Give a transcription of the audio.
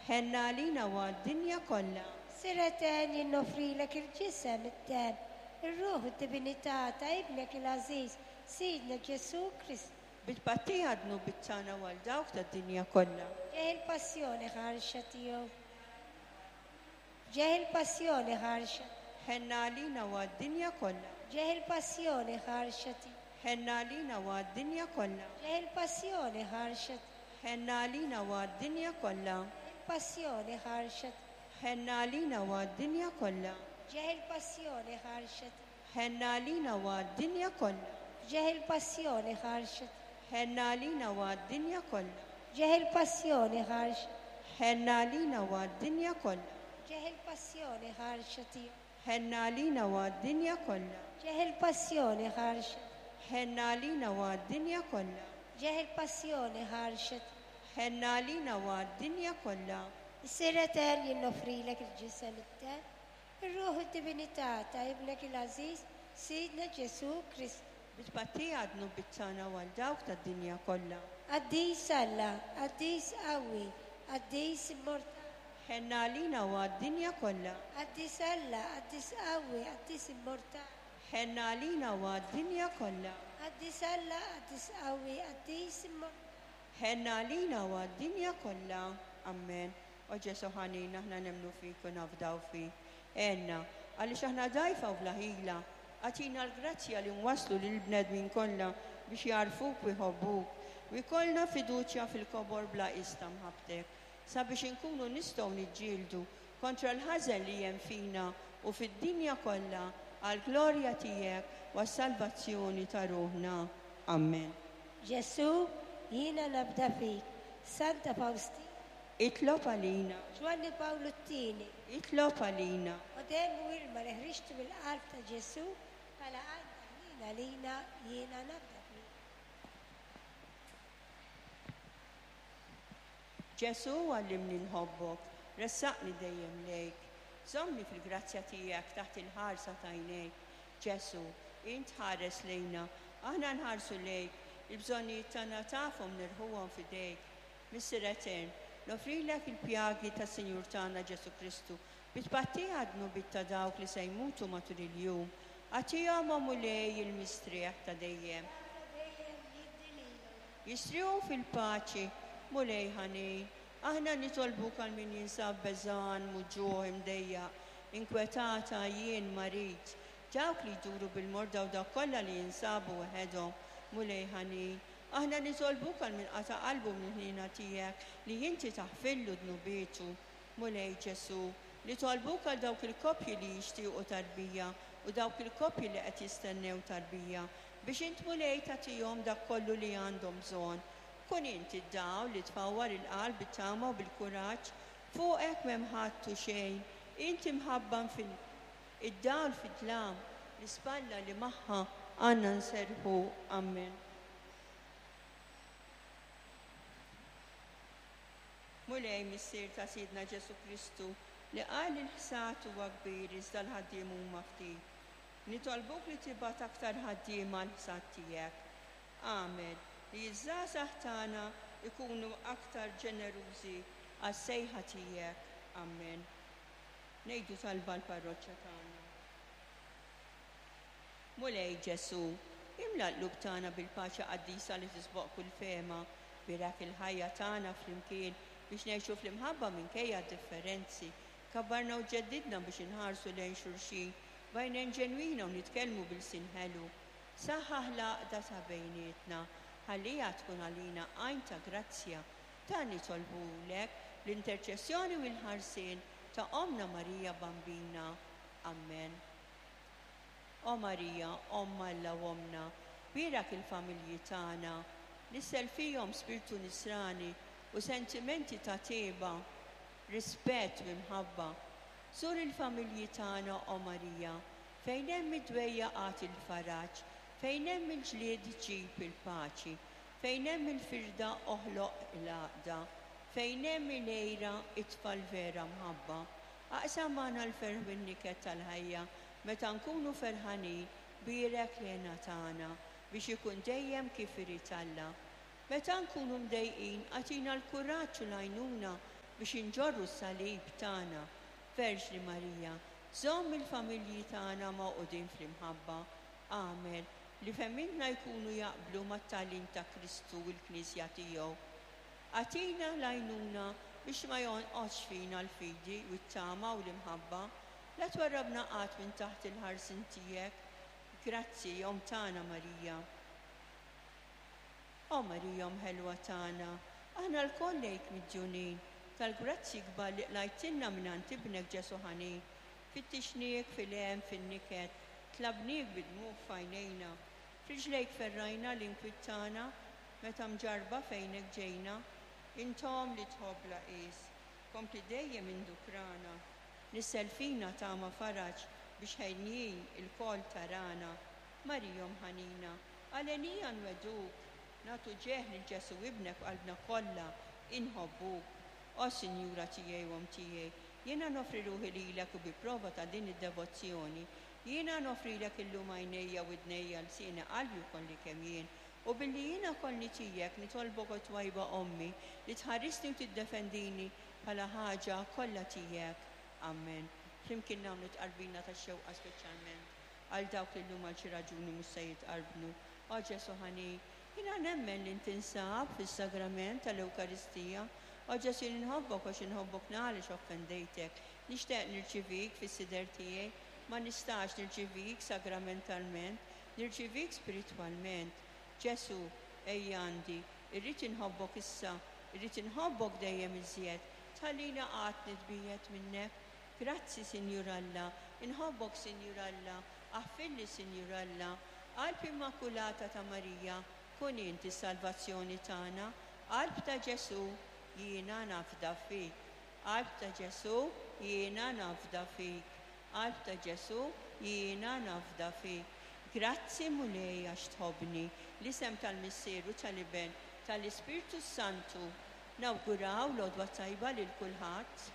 Ħenn għalina u għad-dinja kollha. Missier Etern, jien noffrilek il-ġisem, id-demm, ir-ruħ u d-divinità ta' Ibnek il-għażiż, Sidna Ġesù Kristu. Bi tpattija għad-dnubiet tagħna u għal dawk tad-dinja kollha. Ġeħ il-passjoni ħarxa tiegħu. Ġeħ il-passjoni ħarxa. Ħenn għalina u għad-dinja kollha. Ġeħ il-passjoni ħarxa tiegħu. Ħenn għalina u għad-dinja kollha. Ġeħ il-passjoni ħarxa tiegħu. Ħenn għalina u għad-dinja kollha. Il-passjoni ħarxa tiegħu. Ħenn għalina u għad-dinja kollha. Ġeħ il-passjoni ħarxa tiegħu. Ħenn għalina u għad-dinja kollha. Ġeħ il-passjoni ħarxa tiegħu. Ħenn għalina u għad-dinja kollha. Ġeħ il-passjoni ħarxa. Ħenn għalina u għad-dinja kollha. Ġeħ il-passjoni ħarxa tiegħu. Ħenn għalina u għad-dinja kollha. Ġeħ il-passjoni ħarxa. Ħenn għalina u għad-dinja kollha. Ġeħ il-passjoni ħarxa tiegħu. Ħenn għalina u għad-dinja kollha. Missier Etern, jien noffrilek il-ġisem, id-demm, ir-ruħ u d-divinità ta' Ibnek il-għażiż, Sidna Ġesù Kristu. Bi tpattija għad-dnubiet tagħna u għal dawk tad-dinja kollha. Qaddis Alla, qaddis qawwi, qaddis immortali. Ħenn għalina u għad-dinja kollha. Qaddis Alla, qaddis qawwi, qaddis immortali. Ħenn għalina u għad-dinja kollha. Qaddis Alla, qaddis qawwi, qaddis immortali. Ħenn għalina u għad-dinja kollha. Amen. O Ġesù ħanin, aħna nemmnu fik u nafdaw fik. Għenna, għaliex aħna dgħajfa u bla ħila. Agħtina l-grazzja li nwasslu lill-bnedmin kollha biex jagħrfuk u jħobbuk, u jkollna fiduċja fil-kobor bla qies ta' mħabbtek, sabiex inkunu nistgħu niġġieldu kontra l-ħażen li hemm fina u fid-dinja kollha għall-glorja tiegħek u għas-salvazzjoni ta' ruħna. Amen. Ġesù, jiena nafda fik. Santa Fawstina. Itlob għalina. Ġwanni Pawlu t-Tieni. Itlob għalina. O demm u ilma li ħriġtu mill-qalb ta' Ġesù bħala għajn ta' ħniena għalina, jiena nafda fik. Ġesù għallimni nħobbok, ressaqni dejjem lejk. Żommni fil-grazzja tiegħek taħt il-ħarsa t'għajnejk. Ġesù, int tħares lejna, aħna nħarsu lejk, il-bżonnijiet tagħna tafhom nirħuhom f'idejk. Missier Etern, noffrilek il-pjagi tas-Sinjur tagħna Ġesù Kristu bi tpattija għad-dnubiet ta' dawk li se jmutu matul il-jum. Agħtihom, o Mulej, il-mistrieħ ta' dejjem. Jistrieħu fil-paċi, Mulej ħanin. Aħna nitolbuk għal min jinsab beżgħan, muġugħ, imdejjaq, inkwetat, għajjien, marid, dawk li jduru bil-morda u dawk kollha li jinsabu weħedhom, Mulej ħanin. Aħna nitolbuk għal min qata' qalbu mill-ħniena tiegħek li inti taħfirlu dnubietu. Mulej Ġesù, nitolbuk għal dawk il-koppji li jixtiequ tarbija u dawk il-koppji li qed jistennew tarbija, biex int Mulej tagħtihom dak kollu li għandhom bżonn. Kun int id-dawl li tfawwar il-qalb bit-tama u bil-kuraġġ. Fuqek m'hemm ħadd u xejn. Int imħabba infinita. Id-dawl fid-dlam, l-ispalla li magħha għandna nserrħu. Ammen. Mulej, Missier ta' Sidna Ġesù Kristu, li qal li l-ħsad huwa kbir iżda l-ħaddiem huma ftit, nitolbuk li tibgħat aktar ħaddiema għall-ħsad tiegħek. Agħmel li ż-żgħażagħ tagħna jkunu aktar ġenerużi għas-sejħa tiegħek. Ammen. Ngħidu talba għall-parroċċa tagħna. Mulej Ġesù, imla l-qlub tagħna bil-paċi qaddisa li tisboq kull fehma. Bierek il-ħajja tagħna flimkien biex ngħixu fl-imħabba minkejja d-differenzi. Kabbarna u ġeddidna biex inħarsu lejn xulxin b'għajnejn ġenwina u nitkellmu b'ilsien ħelu. Saħħaħ l-għaqda ta' bejnietna, ħalliha tkun għalina għajn ta' grazzja. Dan nitolbuhulek bl-interċessjoni u l-ħarsien ta' Ommna Marija Bambina. Ammen. O Marija, Omm Alla u Ommna, bierak il-familji tagħna, nissel fihom spirtu nisrani u sentimenti ta' tjieba, rispett u imħabba. Żur il-familji tagħna, o Marija, fejn hemm id-dwejjaq agħti l-faraġ, fejn hemm il-ġlied ġib il-paċi, fejn hemm il-firda oħloq l-għaqda, fejn hemm il-għira itfa' l-vera mħabba. Aqsam magħna l-ferħ u n-niket tal-ħajja meta nkunu ferħanin, bierek l-hena tagħna biex ikun dejjem kif irid Alla. Meta nkunu mdejqin agħtina l-kuraġġ u l-għajnuna. biex inġorru s-salib tagħna. Verġni Marija, żomm il-familji tagħna magħqudin fl-imħabba. Agħmel li fehmietna jkunu jaqblu mat-tagħlim ta' Kristu u l-Knisja tiegħu. Agħtina l-għajnuna biex ma jonqosx fina l-fidi u t-tama u l-imħabba. La twarrabna qatt minn taħt il-ħarsien tiegħek. Grazzi, Omm tagħna Marija. O Marija Omm ħelwa tagħna, aħna lkoll lejk midjunin tal-grazzji kbar li qlajtilna mingħand Ibnek Ġesù ħanin. Fittixniek fil-hemm, fin-niket, tlabniek bid-dmugħ f'għajnejna. F'riġlejk ferrajna l-inkwiet tagħna, meta mġarrba fejnek ġejna. Int Omm li tħobb bla qies, kompli dejjem indukrana. Nissel fina tama faraġ biex henjin ilkoll tarana. Marija Omm ħanina, għalenija nwegħduk, nagħtu ġieħ lil Ġesù Ibnek b'qalbna kollha, inħobbuk. O Sinjura tiegħi u Omm tiegħi, jiena noffri ruħi lilek u bi prova ta' din id-devozzjoni, jiena noffrilek illum għajnejja, widnejja, lsieni, qalbi u kolli kemm jien. U billi jiena kollni tiegħek, nitolbok o twajba Ommi, li tħarisni u tiddefendini bħala ħaġa kollha tiegħek. Amen. Flimkien nagħmlu tqarbina tax-xewqa speċjalment għal dawk li llum għal xi raġuni mhux se jitqarbnu. O Ġesù ħanin, jiena nemmen li int tinsab fis-sagrament tal-Ewkaristija. O Ġesù jien inħobbok għax inħobbok għaliex offendejtek. Nixtieq nirċivik fis-sider tiegħi. Ma nistax nirċivik sagramentalment, nirċivik spiritwalment. Ġesù, ejja għandi, irrid inħobbok issa, irrid inħobbok dejjem iżjed. Tħallini qatt nitbiegħed minnek. Grazzi, Sinjur Alla, inħobbok, Sinjur Alla, aħfirli, Sinjur Alla. Qalb Immakulata ta' Marija, kun int is-salvazzjoni tagħna. Qalb ta' Ġesù, jiena nafda fik. Qalb ta' Ġesù, jiena nafda fik. Qalb ta' Ġesù, jiena nafda fik. Grazzi Mulej għax tħobbni. L-isem tal-Missier u tal-Iben, tal-Ispirtu s-Santu. Nawguraw l-għodwa tajba lil kulħadd.